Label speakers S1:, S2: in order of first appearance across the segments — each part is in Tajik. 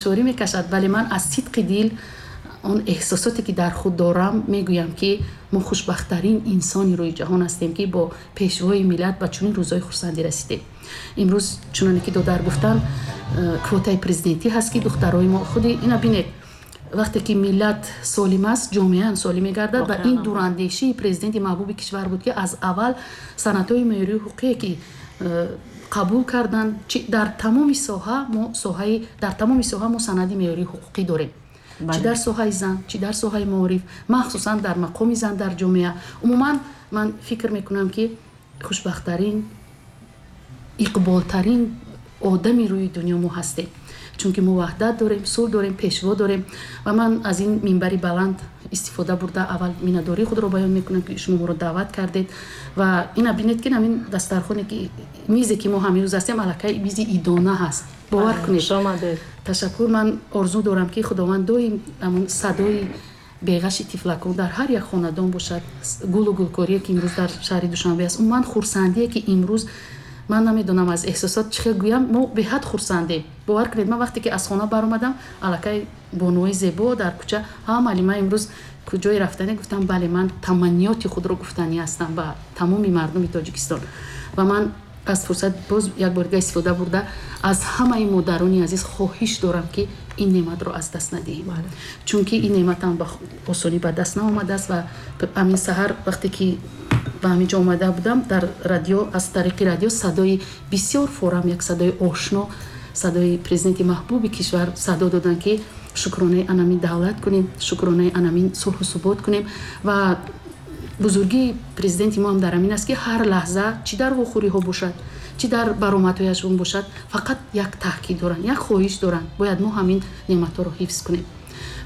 S1: Душворӣ мекашад, вале ман аз сидқи дил он эҳсосоте ки дар худ дорам мегӯям, ки мо хушбахттарин инсони рӯи ҷаҳон ҳастем, ки бо пешвои миллат ба чунин рӯзҳои хурсандӣ расидем. Имрӯз, чуноне ки додар гуфтанд, квотаи президентӣ ҳаст, ки духтарои мо худи ина бинед, вақте ки миллат солим аст, ҷомеаам солим мегардад. Ва ин дурандешии президенти маҳбуби кишвар буд, ки аз аввал санадҳои меъёрию ҳуқуқие ки қабул карданд, дар тамоми соҳа мо соҳаи дар тамоми соҳа мо санади меъёрии ҳуқуқӣ дорем, чӣ дар соҳаи зан, чӣ дар соҳаи маориф, махсусан дар мақоми зан дар ҷомеа. Умуман, ман фикр мекунам, ки хушбахттарин, иқболтарин одами рӯи дунё мо ҳастем, чунки мо ваҳдат дорем, сулҳ дорем, пешво дорем. Ва ман аз ин минбари баланд истифода бурда, аввал миннатдории худро баён мекунам, ки шумо моро даъват кардед. Ва ина бинед, ки ҳамин дастархоне ки мизе ки мо ҳамирӯз ҳастем, аллакай мизи идона ҳаст, бовар кунед. Ташаккур. Ман орзу дорам, ки Худованд доим ҳамон садои беғаши тифлакон дар ҳар як хонадон бошад, гулу гулкорие ки имрӯз дар шаҳри Душанбе аст, умуман хурсандие ки имрӯз, ман намедонам аз эҳсосот чӣ хел гӯям, мо беҳад хурсандем, бовар кунед. Ман вақте ки аз хона баромадам, аллакай бонуҳои зебо дар кӯча: «Ҳа, муаллима, имрӯз куҷое рафтане?» Гуфтам: «Бале, ман таманниёти худро гуфтанӣ ҳастам ба тамоми мардуми Тоҷикистон». Ва ман аз фурсат боз як бор дига истифода бурда, аз ҳамаи модарони азиз хоҳиш дорам, ки ин неъматро аз даст надиҳем, чунки ин неъматам ба осонӣ ба даст наомадааст. Ва ҳамин саҳар, вақте ки ба ҳамин ҷо омада будам, дар радио, аз тариқи радио садои бисёр форам, як садои ошно, садои президенти маҳбуби кишвар садо доданд, ки шукронаи анамин давлат кунем, шукронаи анамин сулҳу субот кунем. Ва бузургии президенти мо ҳам дар ҳамин аст, ки ҳар лаҳза, чӣ дар вохӯриҳо бошад, чӣ дар баромадҳояшон бошад, фақат як таъкид доранд, як хоҳиш доранд: бояд мо ҳамин неъматҳоро ҳифз кунем.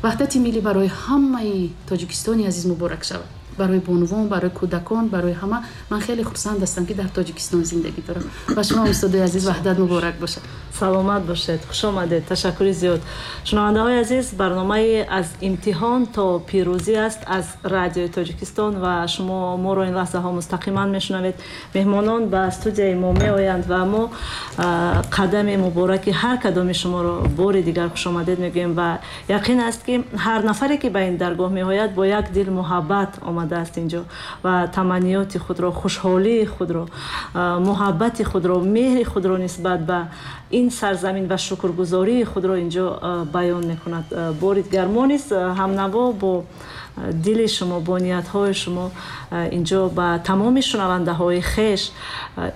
S1: Ваҳдати миллӣ барои ҳамаи Тоҷикистони азиз муборак шавад, барои бонувон, барои кӯдакон, барои ҳама. Ман хеле хурсанд ҳастам, ки дар Тоҷикистон зиндагӣ дорам. Ба шумо, устодои азиз, ваҳдат муборак бошад.
S2: Саломат бошед, хуш омадед, ташаккури зиёд. Шунавандаҳои азиз, барномаи «Аз имтиҳон то пирӯзӣ» аст аз Радиои Тоҷикистон ва шумо моро ин лаҳзаҳо мустақиман мешунавед. Меҳмонон ба студияи мо меоянд ва мо қадами мубораки ҳар кадоми шуморо бори дигар хушомадед мегӯем. Ва яқин аст, ки ҳар нафаре ки ба ин даргоҳ меояд, бо як дил муҳаббат омадааст инҷо ва таманниёти худро, хушҳолии худро, муҳаббати худро, меҳри худро нисбат ба ин сарзамин ва шукргузории худро инҷо баён мекунад. Бори дигар мо низ ҳамнаво бо дили шумо, бо ниятҳои шумо инҷо ба тамоми шунавандаҳои хеш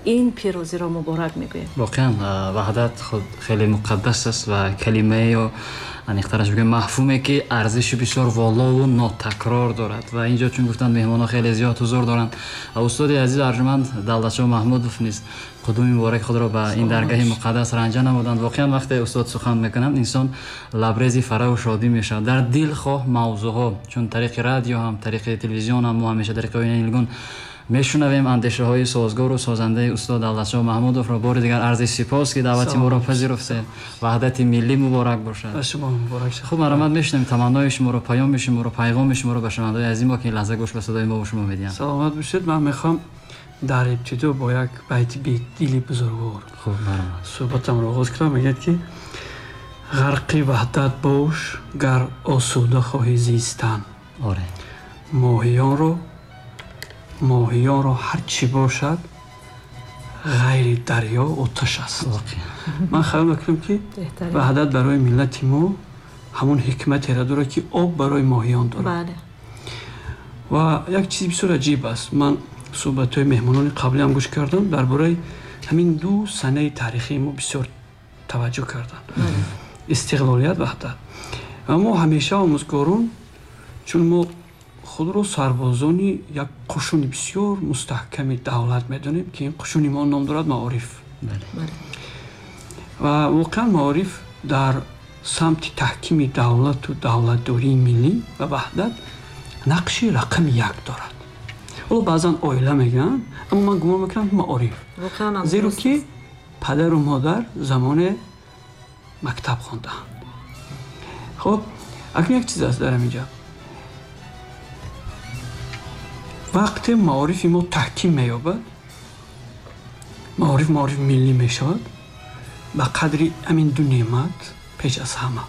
S2: ин пирӯзиро муборак мегӯем.
S3: Воқеан, ваҳдат худ хеле муқаддас аст ва калимае ё аниқтараш бигӯем, мафҳуме ки арзиши бисёр волову нотакрор дорад. Ва инҷо, чун гуфтанд, меҳмонҳо хеле зиёд ҳузур доранд ва устоди азиз арҷуманд Давлатшоҳ Маҳмудов низ қудуми мубораки худро ба ин даргаҳи муқаддас ранҷа намуданд. Воқеан, вақте устод сухан мекунанд, инсон лабрези фараҳу шодӣ мешавад. Дар дилхоҳ мавзӯъҳо, чун тариқи радио ҳам, тариқи телевизион ҳам, мо ҳамеша тариқи оинаи нилгун мешунавем андешаҳои созгору созандаи устод Давлатшоҳ Маҳмудовро. Бори дигар арзи сипос, ки даъвати моро пазируфтед. Ваҳдати миллӣ муборак бошад.
S4: Ба шумо муборак шад.
S3: Хуб, марҳамат, мешунавем таманнои шуморо, паёми шуморо, пайғоми шуморо ба шунавандаҳои азизи мо, ки ин лаҳза гӯш ба садои мо шумо медиҳанд.
S4: Саломат бошед. Ман мехоҳам дар ибтидо бо як байти Бедили бузургвор
S3: Хуб, марҳамат.
S4: суҳбатамро оғоз кунам. Мегӯяд, ки ғарқи ваҳдат бош, гар осуда хоҳӣ зистан. Моҳиёнро ҳар чӣ бошад, ғайри дарё оташ аст. Ман хаёл мекунам, ки ваҳдат барои миллати мо ҳамон ҳикматеро дорад, ки об барои моҳиён дорад. Ва як чизи бисёр аҷиб аст. Ман суҳбатҳои меҳмонони қаблиам гӯш кардам, дар бораи ҳамин ду санаи таърихии мо бисёр таваҷҷӯҳ карданд: истиқлолият, ваҳдат. Ва мо ҳамеша омӯзгорон, чун мо худро сарбозони як қушуни бисёр мустаҳками давлат медонем, ки ин қушуни мо ном дорад маориф. Ва воқеан маориф дар самти таҳкими давлату давлатдории миллӣ ва ваҳдат нақши рақами як дорад. Ҳоло баъзан оила мегӯянд, аммо ман гумон мекунам, маориф, зеро ки падару модар замоне мактаб хондаанд. Хуб, акнун як чиз аст дар ҳаминҷа: вақте маорифи мо таҳким меёбад, маориф маорифи миллӣ мешавад, ба қадри ҳамин ду неъмат Пеш аз ҳама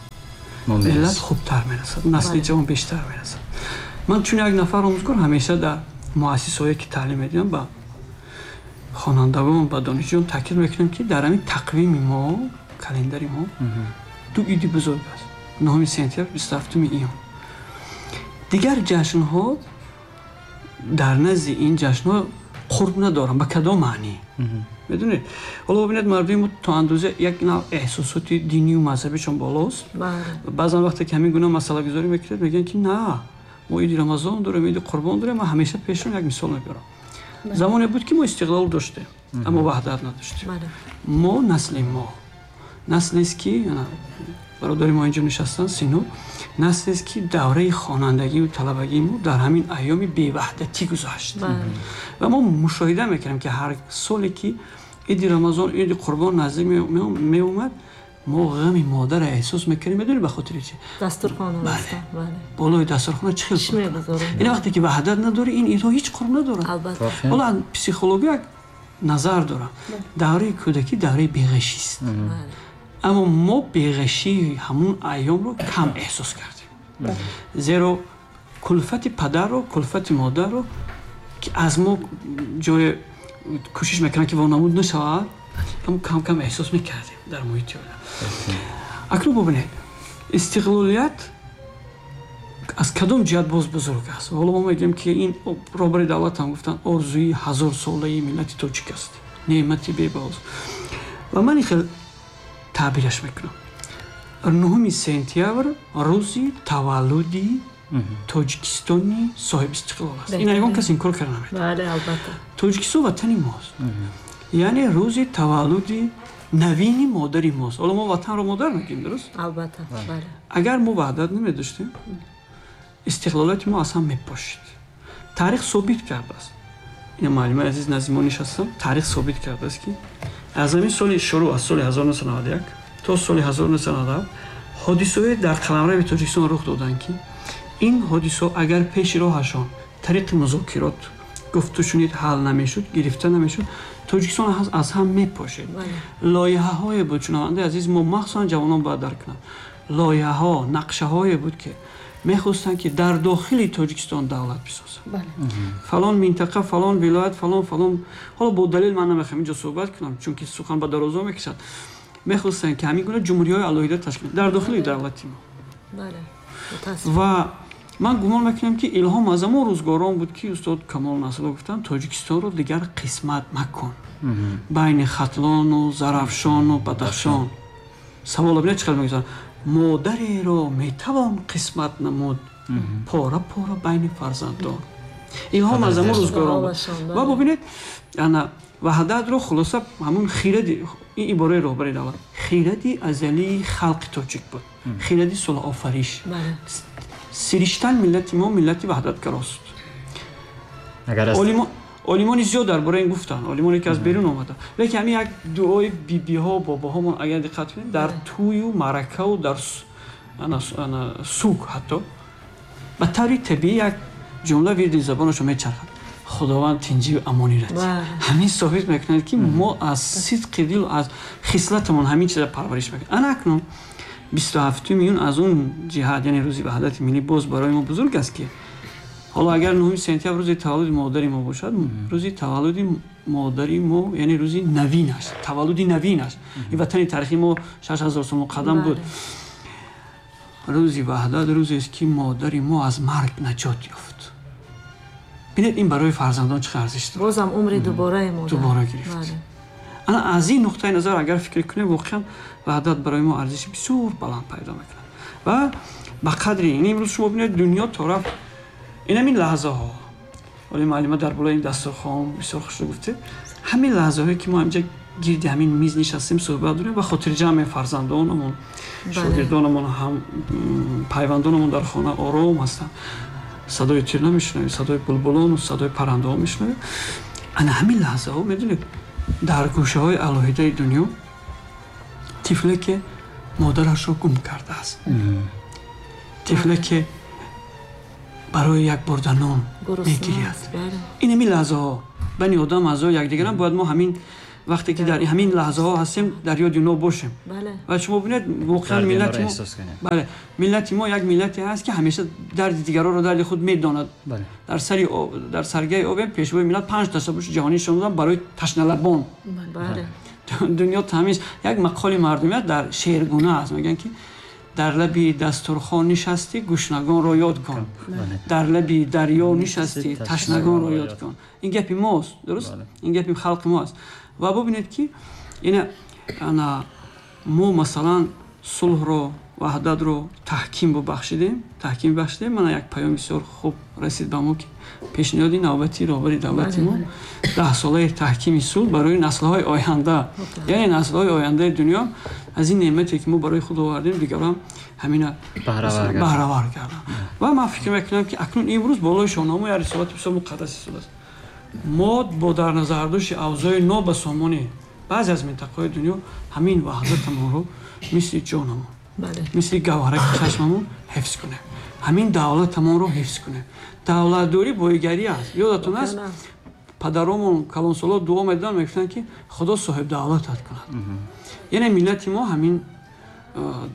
S4: миллат хубтар мерасад, насли ҷавон бештар мерасад. Ман чун як нафар омӯзгор ҳамеша дар муассисаҳое ки таълим медиҳам ба хонандагон, ба донишҷӯён таъкид мекунам, ки дар ҳамин тақвими мо, календари мо ду иди бузург аст: 9 сентябр, 27 июн. Дигар ҷашнҳо дар назди ин ҷашнҳо қурб надоранд. Ба кадом маънӣ? Медонед, ҳоло бибинед, мардуми мо то андоза як нав эҳсосоти динию мазҳабишон болост. Баъзан вақте ки ҳамин гуна масъалагузорӣ мекунед, мегӯянд ки на, мо иди Рамазон дорем, иди Қурбон дорем. Ман ҳамеша пешон як мисол мебарам. Замоне буд ки мо истиқлол доштем, аммо ваҳдат надоштем. Мо насли мо наслест ки бародари мо инҷо нишастанд, Сино, наслест ки давраи хонандагию талабагии мо дар ҳамин айёми беваҳдатӣ гузашт. Ва мо мушоҳида мекардем, ки ҳар соле ки иди Рамазон, иди Қурбон наздик меомад, мо ғами модарро эҳсос мекардем. Медонед ба хотири чи?
S2: Дастурхона.
S4: Болои дастурхона чӣ хел? Ин вақте ки ваҳдат надорӣ, ин идҳо ҳеҷ қурб надорад. Ҳоло психология як назар дорам: давраи кӯдакӣ давраи беғашист, аммо мо беғашии ҳамун айёмро кам эҳсос кардем, зеро кулфати падарро, кулфати модарро, ки аз мо ҷое кӯшиш мекунанд ки вонамуд нашавад, аммо кам кам эҳсос мекардем дар муҳити оила. Акнун бубинед, истиқлолият аз кадом ҷиҳат боз бузург аст? Ҳоло мо мегӯем, ки ин роҳбари давлат ҳам гуфтанд, орзуи ҳазорсолаи миллати тоҷик аст, неъмати бебаҳост. Ва ман ин хел таъбираш мекунам: 9 сентябр рӯзи таваллуди Тоҷикистони соҳибистиқлол аст. Ин ягон кас инкор карда наметавонад. Тоҷикистон ватани мост, яъне рӯзи таваллуди навини модари мост. Ҳоло мо ватанро модар мегӯем, дуруст?
S2: Албатта.
S4: Агар мо ваҳдат намедоштем, истиқлолияти мо аз ҳам мепошид. Таърих собит кардааст, ина муаллимаи азиз назди мо нишастам, таърих собит кардааст, ки аз ҳамин соли шурӯъ, аз соли 1991 то соли 1997 ҳодисаҳое дар қаламрави Тоҷикистон рух доданд, ки ин ҳодисаҳо агар пеши роҳашон тариқи музокирот, гуфтушунид ҳал намешуд, гирифта намешуд, Тоҷикистон аз ҳам мепошид. Лоиҳаҳое буд, шунавандаи азиз, мо махсусан ҷавонон бояд дарк кунанд, лоиҳаҳо, нақшаҳое буд, ки мехостанд, ки дар дохили Тоҷикистон давлат бисозанд, фалон минтақа, фалон вилоят, фалон фалон. Ҳоло бо далел ман намехоҳам инҷо суҳбат кунам, чунки сухан ба дарозо мекашад. Мехостанд, ки ҳамин гуна ҷумҳуриҳои алоҳида ташкил дар дохили давлати мо. Ва ман гумон мекунам, ки илҳом аз ҳамон рӯзгорон буд, ки устод Камол Насрулло гуфтанд: «Тоҷикистонро дигар қисмат макун байни Хатлону Зарафшону Бадахшон». Саволо бинед, чӣ хел мегузоранд: модареро метавон қисмат намуд пора пора байни фарзандон? Илҳом аз ҳамон рӯзгорон буд. Ва бубинед, ана ваҳдатро хулоса ҳамун хиради, ин ибораи роҳбари давлат, хиради азалии халқи тоҷик буд, хиради сулҳофариш. Сириштан миллати мо миллати ваҳдатгарост. Олимони зиёд дар бораи ин гуфтанд, олимоне ки аз берун омада. Лекин ҳамин як дуои бибиҳо, бобоҳомон, агар диққат кунед, дар тӯю маъракаву дар суг ҳатто ба таври табиӣ як ҷумла вирди забонашон мечархад: «Худованд тинҷию амонӣ радиҳад». Ҳамин собит мекунад, ки мо аз сидқи дил, аз хислатамон ҳамин чиза парвариш мекунем. Ана акнун 27 июн аз он ҷиҳат, яъне рӯзи ваҳдати миллӣ, боз барои мо бузург аст, ки ҳоло агар 9 сентябр рӯзи таваллуди модари мо бошад, рӯзи таваллуди модари мо, яъне рӯзи навинаш, таваллуди навинаш, ин ватани таърихи мо 6000 сол муқаддам буд, рӯзи ваҳдат рӯзест, ки модари мо аз марг наҷот ёфт. Бинед, ин барои фарзандон чӣ арзиш дорад.
S2: Бозам умри дубораи модар
S4: дубора гирифт. Ана аз ин нуқтаи назар агар фикр кунем, воқеан ваҳдат барои мо арзиши бисёр баланд пайдо мекунад. Ва ба қадри ин имрӯз шумо бинед, дунё то рафт ин ҳамин лаҳзаҳо, вале муаллима дар болои ин дастурхон бисёр хушро гуфте, ҳамин лаҳзаҳое ки мо ҳаминҷа гирди ҳамин миз нишастем, суҳбат дорем ва хотирҷамъ, фарзандонамон, шогирдонамон, ҳам пайвандонамон дар хона ором ҳастанд, садои тир намешунавем, садои булбулону садои паррандаҳо мешунавем. Ана ҳамин лаҳзаҳо, медонед, дар гӯшаҳои алоҳидаи дунё тифле ки модарашро гум кардааст, тифле ки барои як бурда нон мегирияд, ин ҳамин лаҳзаҳо бани одам аъзои якдигарам, бояд мо ҳамин Вақте ки дар ҳамин лаҳзаҳо ҳастем, дар ёди онҳо бошем. Ва шумо бинед, воқеан миллати мо, бале, миллати мо як миллате ҳаст, ки ҳамеша дарди дигаронро дарди худ медонад. Дар сари дар саргаи обем пешвои миллат 5 ташаббуси ҷаҳонӣ нишон доданд барои ташналабон. Дунё тамиз. Як мақоли мардумият дар шеъргуна аст, мегӯянд ки дар лаби дастурхон нишастӣ, гушнагонро ёд кун, дар лаби дарё нишастӣ, ташнагонро ёд кун. Ин гапи мост, дуруст? Ин гапи халқи мо аст. Ва бубинед ки ина ана мо масалан сулҳро, ваҳдатро таҳким бахшидем, таҳким бахшидем. Мана як паём бисёр хуб расид ба мо, ки пешниҳоди навбати роҳбари давлати мо 10 солаи таҳкими сулҳ барои наслҳои оянда, яъне наслҳои ояндаи дунё аз ин неъмате, ки мо барои худ овардем, дигарон ҳамина баҳравар карданд. Ва ман фикр мекунам, ки акнун имрӯз болои шоҳнома як рисолати бисёр муқаддас истодааст. Мо бо дар назардошти авзои нобасомони баъзе аз минтақаҳои дунё ҳамин ваҳдатамонро мисли ҷонамон, мисли гавҳараки чашмамон ҳифз кунем, ҳамин давлатамонро ҳифз кунем. Давлатдорӣ боигарӣ аст. Ёдатон аст, падаромон, калонсоло дуо медоданд, мегуфтанд, ки Худо соҳибдавлатат кунад. Яъне миллати мо ҳамин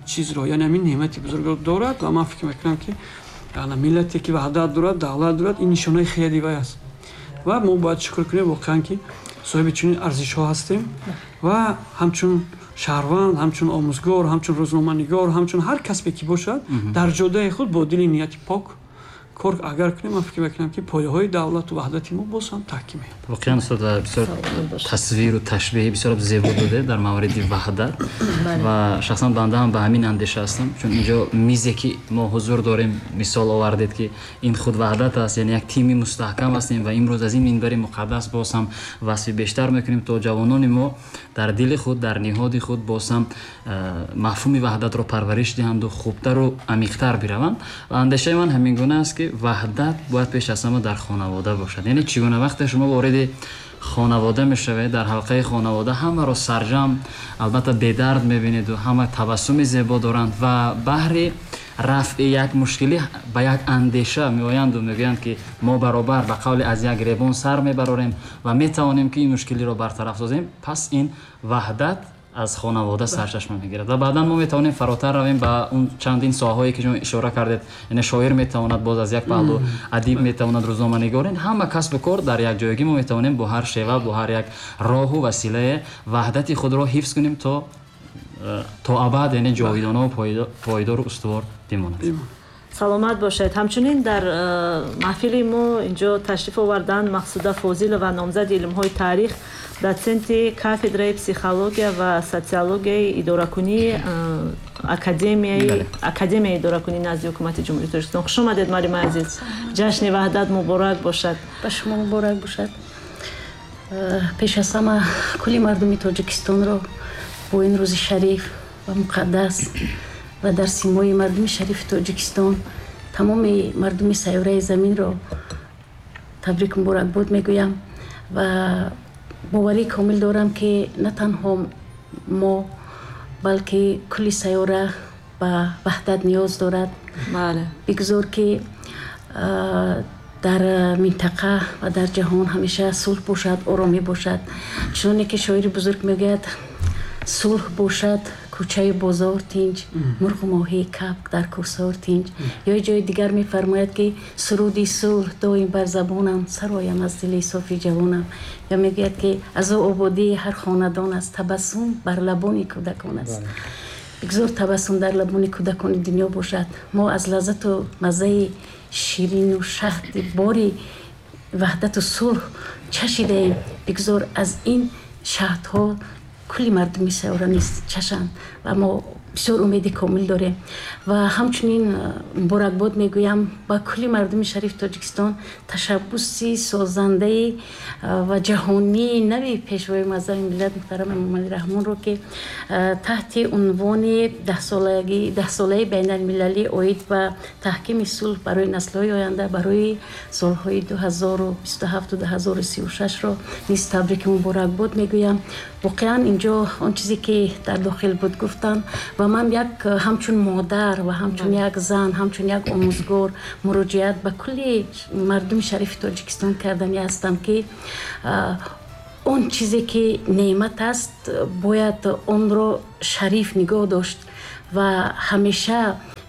S4: чизро, яъне ҳамин неъмати бузургро дорад. Ва ман фикр мекунам, ки миллате ки ваҳдат дорад, давлат дорад, ин нишонаи хеле вай аст. Ва мо бояд шукр кунем воқеан, ки соҳиби чунин арзишҳо ҳастем. Ва ҳамчун шаҳрванд, ҳамчун омӯзгор, ҳамчун рӯзноманигор, ҳамчун ҳар касбе ки бошад, дар ҷодаи худ бо дили нияти пок кор агар кунем, ман фикр мекунам, ки пояҳои давлату ваҳдати мо боз ҳам таҳким меёбад.
S3: Воқеан, устод, бисёр тасвиру ташбеҳи бисёр зебо доде дар мавриди ваҳдат. Ва шахсан банда ҳам ба ҳамин андеша ҳастам, чун инҷо мизе ки мо ҳузур дорем, мисол овардед, ки ин худ ваҳдат аст, яъне як тими мустаҳкам ҳастем. Ва имрӯз аз ин минбари муқаддас боз ҳам васфи бештар мекунем, то ҷавонони мо дар дили худ, дар ниҳоди худ боз ҳам мафҳуми ваҳдатро парвариш диҳанду хубтару амиқтар бираванд. Ва андешаи ман ҳамин гуна аст, ки ваҳдат бояд пеш аз ҳама дар хонавода бошад. Яъне чӣ гуна вақте шумо вориди хонавода мешавед, дар ҳалқаи хонавода ҳамаро сарҷам, албатта бедард мебинеду ҳама табассуми зебо доранд ва баҳри рафъи як мушкилӣ ба як андеша меоянду мегӯянд, ки мо баробар, ба қавли аз як ребон сар мебарорем ва метавонем, ки ин мушкилиро бартараф созем. Пас ин ваҳдат аз хонавода сарчашма мегирад ва баъдан мо метавонем фаротар равем ба он чандин соҳаҳое, ки шумо ишора кардед. Яъне шоир метавонад боз аз як паҳлу, адиб метавонад, рӯзноманигор, ҳама касбу кор дар як ҷойгӣ мо метавонем бо ҳар шева, бо ҳар як роҳу василае ваҳдати худро ҳифз кунем, то абад, яъне ҷовидонаву пойдору устувор бимонад.
S2: Саломат бошед. Ҳамчунин дар маҳфили мо инҷо ташриф оварданд Мақсуда Фозилова, номзади илмҳои таърих, дотсенти кафедраи психология ва социологияи идоракунии Академияи идоракунии назди Ҳукумати Ҷумҳурии Тоҷикистон. Хуш омадед, муаллимаи азиз, ҷашни Ваҳдат муборак бошад.
S1: Ба шумо муборак бошад. Пеш аз ҳама кулли мардуми Тоҷикистонро бо ин рӯзи шариф ва муқаддас ва дар симои мардуми шарифи Тоҷикистон тамоми мардуми сайёраи заминро табрик, муборакбод мегӯям. Ва боварии комил дорам, ки на танҳо мо, балки кулли сайёра ба ваҳдат ниёз дорад. Бигзор, ки дар минтақа ва дар ҷаҳон ҳамеша сулҳ бошад, оромӣ бошад. Чуноне ки шоири бузург мегӯяд: «Сулҳ бошад, кӯчаю бозор тинҷ, мурғу моҳӣ, кабк дар кӯҳсор тинҷ». Ё ҷои дигар мефармояд, ки «Суруди сулҳ доим бар забонам, сароям аз дили софи ҷавонам». Ё мегӯяд, ки аз ӯ ободии ҳар хонадон аст, табассум бар лабони кӯдакон аст. Бигзор табассум дар лабони кӯдакони дунё бошад. Мо аз лаззату маззаи ширину шаҳди бори ваҳдату сулҳ чашидаем. Бигзор аз ин шаҳдҳо кулли мардуми сайёра низ чашанд ва мо бисёр умеди комил дорем. Ва ҳамчунин муборакбод мегӯям ба кулли мардуми шарифи Тоҷикистон ташаббуси созандаи ва ҷаҳонии нави Пешвои муаззами миллат муҳтарам Эмомалӣ Раҳмонро, ки таҳти унвони 10-солаи байналмилалӣ оид ба таҳкими сулҳ барои наслҳои оянда барои солҳои 2027-2036-ро низ табрики муборакбод мегӯям. Воқеан, инҷо он чизе, ки дар дохил буд, гуфтам. Ва ман як ҳамчун модар ва ҳамчун як зан, ҳамчун як омӯзгор муроҷиат ба кулли мардуми шарифи Тоҷикистон кардани ҳастам, ки Он чизе ки неъмат аст, бояд онро шариф нигоҳ дошт ва ҳамеша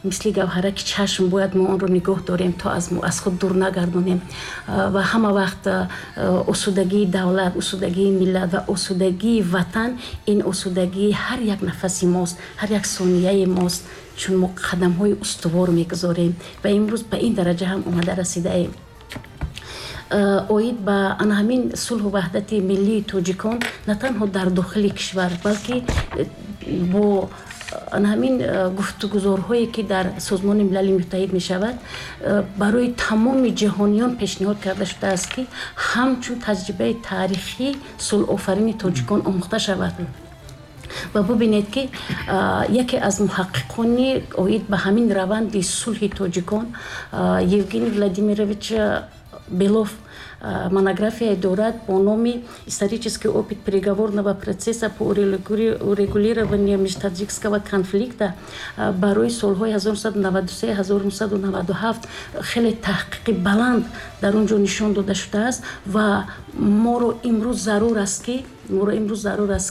S1: мисли гавҳараки чашм бояд мо онро нигоҳ дорем, то аз худ дур нагардонем. Ва ҳама вақт осудагии давлат, осудагии миллат ва осудагии ватан ин осудагии ҳар як нафаси мост, ҳар як сонияи мост, чун мо қадамҳои устувор мегузорем ва имрӯз ба ин дараҷа ҳам омада расидаем. Оид ба ана ҳамин сулҳу ваҳдати миллии тоҷикон на танҳо дар дохили кишвар, балки бо ана ҳамин гуфтугузорҳое ки дар Созмони Милали Муттаҳид мешавад, барои тамоми ҷаҳониён пешниҳод карда шудааст, ки ҳамчун таҷрибаи таърихӣ сулҳофарини тоҷикон омӯхта шавад. Ва бубинед, ки яке аз муҳаққиқони оид ба ҳамин раванди сулҳи тоҷикон, Евгений Владимирович Белов, монография дорад бо номи «Исторический опыт переговорного процесса по урегулированию межтаджикского конфликта» барои солҳои 1993-1997. Хеле таҳқиқи баланд дар он ҷо нишон дода шудааст ва моро имрӯз зарур аст,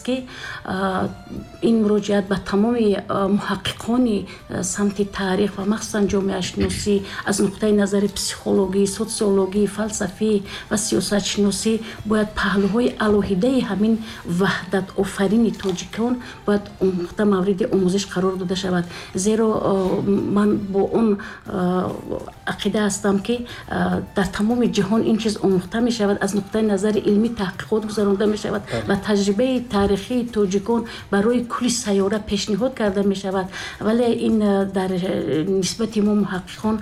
S1: ки ин муроҷиат ба тамоми муҳаққиқони самти таърих ва махсусан ҷомеашиносӣ аз нуқтаи назари психологӣ, социологӣ, фалсафӣ ва сиёсатшиносӣ бояд паҳлӯҳои алоҳидаи ҳамин ваҳдатофарини тоҷикон бояд омӯхта, мавриди омӯзиш қарор дода шавад. Зеро ман бо он ақида ҳастам, ки дар тамоми ҷаҳон ин чиз омӯхта мешавад, аз нуқтаи назари илмӣ таҳқиқот гузаронда мешавад ва таҷрибаи таърихии тоҷикон барои кулли сайёра пешниҳод карда мешавад. Вале ин дар нисбати мо муҳаққиқон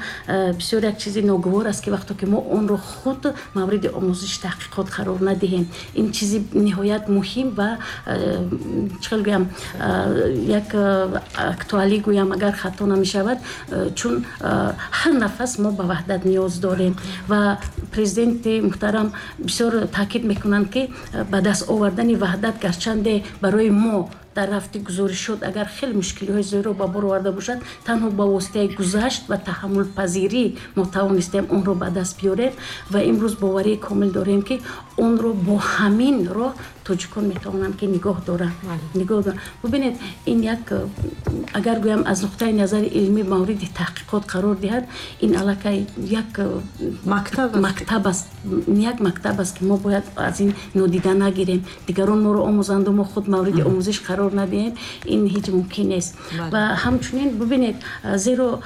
S1: бисёр як чизи ногувор аст, ки вақто ки мо онро худ мавриди омӯзиш, таҳқиқот қарор надиҳем. Ин чизи ниҳоят муҳим ва, чӣ хел гӯям, як актуалӣ гӯям, агар хато намешавад, чун ҳар нафас мо ба ваҳдат ниёз дорем. Ва президенти муҳтарам бисёр таъкид мекунанд, ки ба даст овардани ваҳдат, гарчанде барои мо дар рафти гузоришот агар хеле мушкилиҳои зиёдро ба бор оварда бошад, танҳо ба воситаи гузашт ва таҳаммулпазирӣ мо тавонистем онро ба даст биёрем. Ва имрӯз боварии комил дорем, ки онро бо ҳамин роҳ тоҷикон метавонанд ки нигоҳ доранд. Бубинед, ин як, агар гӯям, аз нуқтаи назари илмӣ мавриди таҳқиқот қарор диҳад, ин аллакай як мактаб аст, як мактаб аст, ки мо бояд аз ин нодида нагирем. Дигарон моро омӯзанду мо худ мавриди омӯзиш қарор надиҳем, ин ҳеҷ мумкин нест. Ва ҳамчунин бубинед, зеро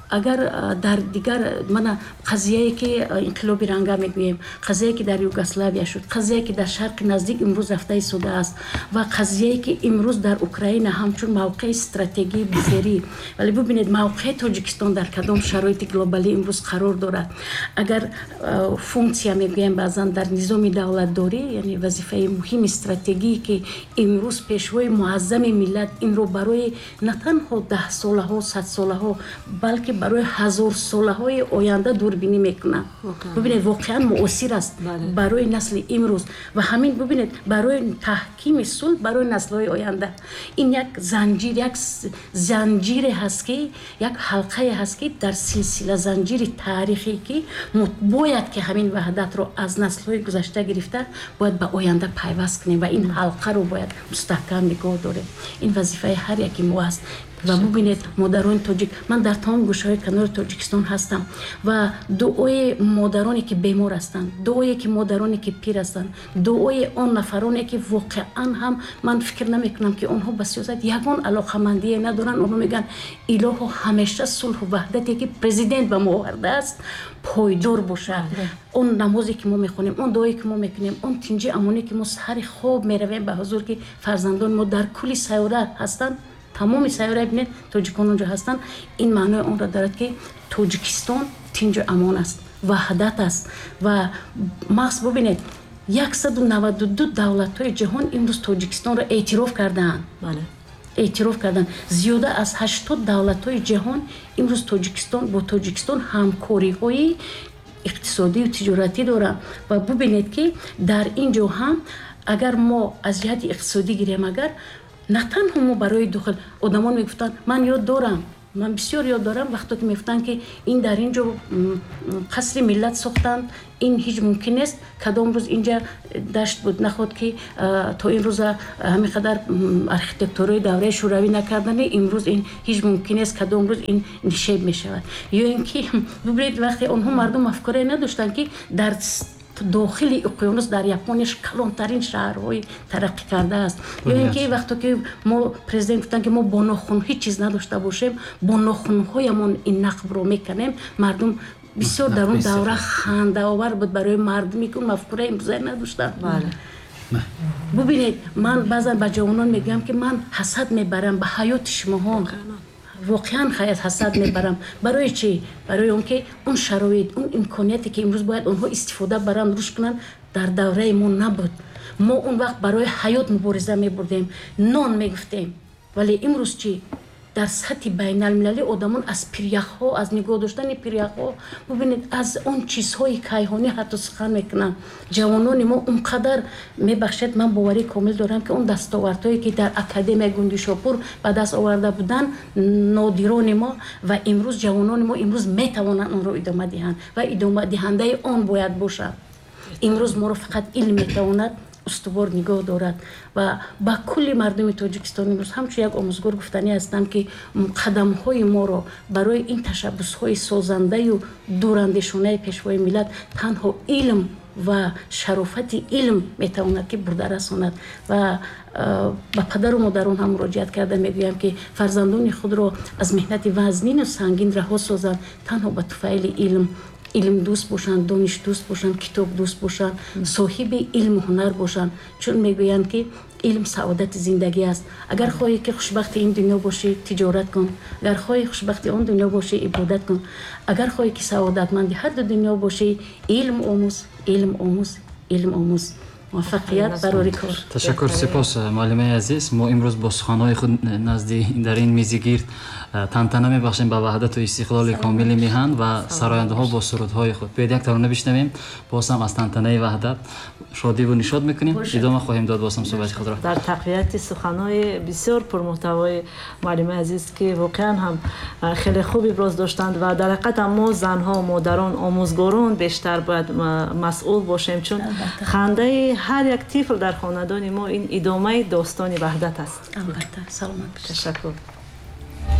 S1: агар дар дигар, мана, қазияе ки инқилоби ранга мегӯем, қазияе ки дар Югославия шуд, қазияе ки дар Шарқи Наздик имрӯз рафта истодааст ва қазияе ки имрӯз дар Украина ҳамчун мавқеи стратегии буферӣ, вале бубинед, мавқеи Тоҷикистон дар кадом шароити глобалӣ имрӯз қарор дорад. Агар функсия мегӯем баъзан дар низоми давлатдорӣ, яъне вазифаи муҳими стратегие, ки имрӯз пешвои муаззами миллат инро барои на танҳо даҳсолаҳо, садсолаҳо, балки барои ҳазорсолаҳои оянда дурбинӣ мекунад. Бубинед, воқеан муосир аст барои насли имрӯз ва ҳамин, бубинед, барои таҳкими сулҳ барои наслҳои оянда. Ин як занҷир, як занҷире ҳаст, ки як ҳалқае ҳаст, ки дар силсила занҷири таърихӣ, ки бояд ки ҳамин ваҳдатро аз наслҳои гузашта гирифта бояд ба оянда пайваст кунем ва ин ҳалқаро бояд мустаҳкам нигоҳ дорем. Ин вазифаи ҳар яки мо аст. Ва бубинед, модарони тоҷик, ман дар тамоми гӯшаҳои канори Тоҷикистон ҳастам ва дуои модароне ки бемор ҳастанд, дуое ки модароне ки пир ҳастанд, дуои он нафароне ки воқеан ҳам ман фикр намекунам, ки онҳо ба сиёсат ягон алоқамандие надоранд, онҳо мегӯянд: «Илоҳо, ҳамеша сулҳу ваҳдате ки президент ба мо овардааст, пойдор бошад». Он намозе ки мо мехонем, он дуое ки мо мекунем, он тинҷи амонӣ ки мо саҳари хоб меравем ба ҳузур, ки фарзандони мо дар кулли сайёра ҳастанд, тамоми сайёра, бинед, тоҷикон онҷо ҳастанд, ин маънои онро дорад, ки Тоҷикистон тинҷу амон аст, ваҳдат аст. Ва маҳз бубинед, 192 давлатҳои ҷаҳон имрӯз Тоҷикистонро эътироф кардаанд, эътироф карданд. Зиёда аз 80 давлатҳои ҷаҳон имрӯз Тоҷикистон бо Тоҷикистон ҳамкориҳои иқтисодию тиҷоратӣ доранд. Ва бубинед, ки дар ин ҷо ҳам агар мо аз ҷиҳати иқтисодӣ гирем, агар на танҳо мо барои дохил, одамон мегуфтанд, ман ёд дорам, Ман бисёр ёд дорам, вақто ки мегуфтанд, ки ин дар ин ҷо қасри миллат сохтанд, ин ҳеҷ мумкин нест, кадом рӯз инҷа дашт буд, наход ки то ин рӯза ҳамин қадар архитектураи давраи шӯравӣ накардани, имрӯз ин ҳеҷ мумкин нест, кадом рӯз ин нишеб мешавад. Ё ин ки бибинед, вақте онҳо мардум мафкурае надоштанд, ки дар дохили уқёнус дар Япония калонтарин шаҳрҳои тараққӣ кардааст. Ё ин ки вақто ки мо президент гуфтанд, ки мо бо нохун ҳеҷ чиз надошта бошем, бо нохунҳоямон ин нақбро меканем, мардум бисёр дар он давра хандаовар буд барои мардуме, ки он мафкура имрӯза надоштанд. Бубинед, ман баъзан ба ҷавонон мегӯям, ки ман ҳасад мебарам ба ҳаёти шумоҳо, воқеан ҳасад мебарам. Барои чӣ? Барои он ки он шароит, он имконияте, ки имрӯз бояд онҳо истифода баранд, рушд кунанд, дар давраи мо набуд. Мо он вақт барои ҳаёт мубориза мебурдем, нон мегуфтем. Вале имрӯз чӣ? Дар сатҳи байналмилалӣ одамон аз пиряхҳо, аз нигоҳ доштани пиряхҳо, бубинед, аз он чизҳои кайҳонӣ ҳатто сухан мекунанд. Ҷавонони мо он қадар, мебахшед, ман боварии комил дорам, ки он дастовардҳое, ки дар Академияи Гундишопур ба даст оварда буданд нодирони мо, ва имрӯз ҷавонони мо имрӯз метавонанд онро идома диҳанд ва идомадиҳандаи он бояд бошанд. Имрӯз моро фақат илм метавонад устувор нигоҳ дорад. Ва ба кулли мардуми Тоҷикистон имрӯз ҳамчун як омӯзгор гуфтанӣ ҳастам, ки қадамҳои моро барои ин ташаббусҳои созандаю дурандешонаи Пешвои миллат танҳо илм ва шарофати илм метавонад, ки бурда расонад. Ва ба падару модарон ҳам муроҷиат карда мегӯям, ки фарзандони худро аз меҳнати вазнину сангин раҳо созанд, танҳо ба туфайли илм, илмдӯст бошанд, донишдӯст бошанд, китобдӯст бошанд, соҳиби илму ҳунар бошанд. Чун мегӯянд, ки илм саодати зиндагӣ аст. Агар хоҳӣ, ки хушбахти ин дунё бошӣ, тиҷорат кун. Агар хоҳӣ хушбахти он дунё бошӣ, ибодат кун. Агар хоҳӣ, ки саодатманди ҳарду дунё бошӣ, илм омӯз, илм омӯз, илм омӯз. Муваффақият барори кор.
S3: Ташаккур, сипос, муаллимаи азиз. Мо имрӯз бо суханҳои худ назди дар ин мизи гирд тантана мебахшем ба ваҳдату истиқлоли комили миҳан ва сарояндаҳо бо сурудҳои худ. Биёед, як тарона бишнавем, боз ҳам аз тантанаи ваҳдат шодиву нишод мекунем, идома хоҳем дод боз ҳам суҳбати худро.
S2: Дар тақвияти суханҳои бисёр пурмуҳтавои муаллимаи азиз, ки воқеан ҳам хеле хуб иброз доштанд, ва дар ҳақиқат ҳам мо занҳо, модарон, омӯзгорон бештар бояд масъул бошем, чун хандаи ҳар як тифл дар хонадони мо ин идомаи достони ваҳдат аст.
S1: Албатта, саломат бошед.
S2: Ташаккур.